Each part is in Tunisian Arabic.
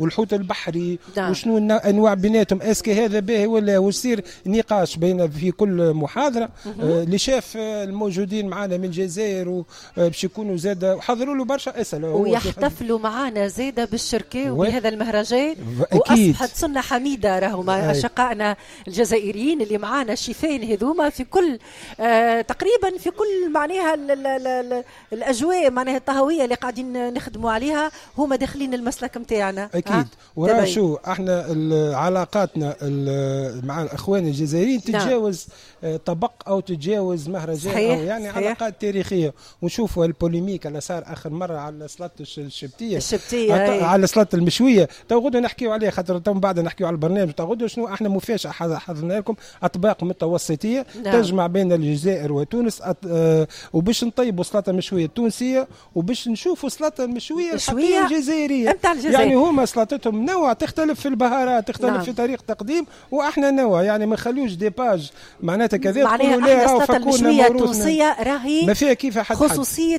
والحوت البحري. نعم. وشنو انواع بيناتهم، est-ce que هذا باهي ولا، ويصير نقاش بين في كل محاضرة. les chefs الموجودين معنا من الجزائر باش يكونوا زاد وحضروا له برشا اسئلة، ويحتفلوا معنا زاده بالشركة وبهذا المهرجان. أكيد. واصبحت سنة حميده راهو مع اشقائنا الجزائريين اللي معنا الشيفين هذوما في كل تقريبا في كل معناها الاجواء معناها الطهويه اللي قاعدين نخدموا عليها، هما داخلين المسلك نتاعنا. اكيد. وراه شو احنا علاقاتنا مع الاخوان الجزائريين تتجاوز طبق او تتجاوز مهرجان. صحيح. او يعني صحيح. علاقات تاريخية. ونشوفوا ال polémique اللي صار اخر مرة على سلطة الشبتيه على سلطة المشويه، تو غدوه نحكيو عليه، خاطر تو من بعد نحكيو على البرنامج. تو غدوه شنو احنا مفاجاة حضرنا لكم اطباق متوسطيه. نعم. تجمع بين الجزائر وتونس، وباش نطيبوا سلطة مشوية تونسية، وباش نشوفوا سلطة المشويه الحقيقية الجزائرية. يعني هما سلطتهم نوع تختلف في البهارات، تختلف. نعم. في طريقه تقديم، واحنا نوع يعني ما نخلوش des pages معناتها كذا. معناها احنا السلطة المشويه التونسية راهي ما فيها كيف حد خصوصية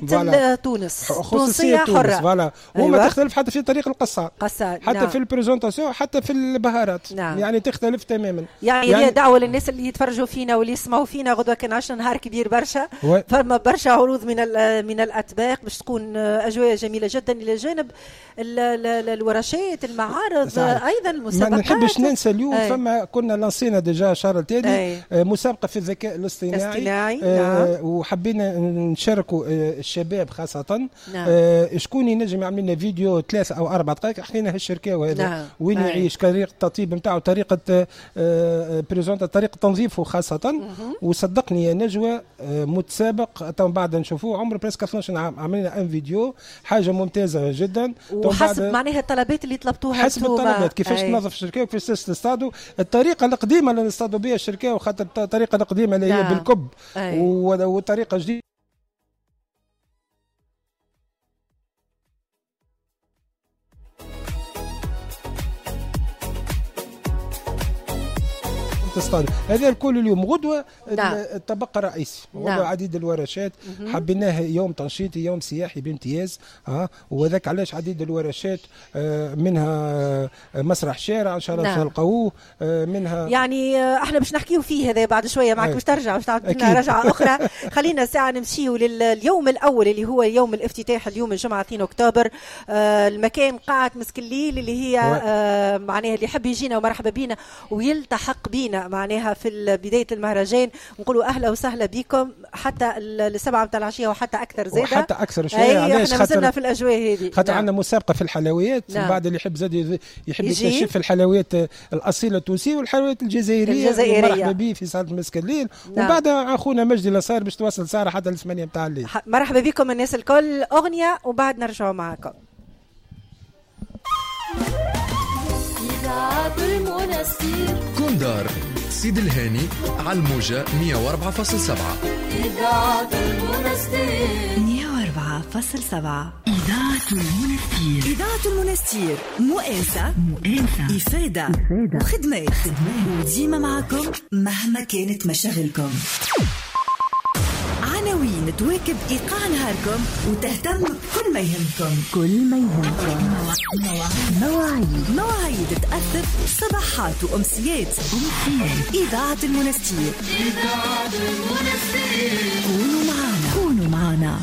تونس، خصوصية حره. voilà. وما تختلف حتى في طريق القصة، حتى. نعم. في ال présentation، حتى في البهارات. نعم. يعني تختلف تماما. يعني دعوه للناس اللي يتفرجوا فينا واللي يسمعوا فينا، غدوه كان عشنا نهار كبير برشا، فما برشا عروض من الاطباق باش تكون اجواء جميلة جدا، الى جانب الورشات، المعارض، ايضا المسابقات. ما نحبش ننسى اليوم. فما كنا lancينا déjà شهر التالي مسابقة في الذكاء الاصطناعي. نعم. وحبينا نشاركوا الشباب خاصة. نعم. شكون ينجم يعمل لنا فيديو 3 أو 4 دقائق حكينا هالشركاوي هذا. نعم. وين يعيش، طريقه التطيب نتاعو، طريقه présenta، طريقه تنظيفه خاصة. وصدقني يا نجوى، متسابق تو بعد نشوفوه عمره presque 12 عام، عملنا un vidéo حاجة ممتازة جدا. وحسب معناها الطلبات اللي طلبتوها، حسب الطلبات كيفاش تنظف الشركاوي، كيفاش تصطادوا، الطريقة القديمة اللي نصطادوا بها الشركاوي، خاطر الطريقة القديمة اللي هي بالكب، وطريقه جديدة تصطاد. هذا الكل اليوم. غدوه. نعم. الطبق الرئيسي. نعم. غدوه عديد الورشات. حبيناه يوم تنشيطي، يوم سياحي بامتياز، وذاك علاش عديد الورشات، منها مسرح شارع ان شاء الله. نعم. تلقوه منها يعني احنا باش نحكيو فيه هذا بعد شوية معك، باش ترجع باش تعطينا رجعه اخرى. خلينا ساعة نمشيو لليوم الاول اللي هو يوم الافتتاح، اليوم الجمعة 2 اكتوبر. المكان قاعة مسك الليل اللي هي معناها اللي يحب يجينا ومرحبا بينا ويلتحق بينا معناها في بداية المهرجان، نقولوا أهلا وسهلا بكم حتى 7 متاع العشية وحتى أكثر زادة، وحتى أكثر شوية. علاش؟ احنا مازلنا في الأجواء هذه، خاطر نعم. عندنا مسابقة في الحلويات. نعم. بعد اللي يحب زاد يحب يكتشف الحلويات الأصيلة التونسية والحلويات الجزائرية. مرحبا به في صالة مسك الليل. نعم. وبعد أخونا مجدي لصار باش تواصل سارة حتى 8 متاع الليل. مرحبا بكم الناس الكل، أغنية وبعد نرجعوا معكم. إذاعة المنستير كوندار سيد الهاني على الموجة 104.7. إذاعة المنستير 104.7. إذاعة المنستير. إذاعة المنستير، مؤانسة، إفادة، وخدمات، وديما معكم مهما كانت مشاغلكم. عناوين تواكب إيقاع نهاركم وتهتم بكل ما يهمكم. كل ما يهمكم. مواعيد تأثر صباحات وأمسيات. إذاعة المنستير. إذاعة المنستير. كونوا معنا. كونوا معنا.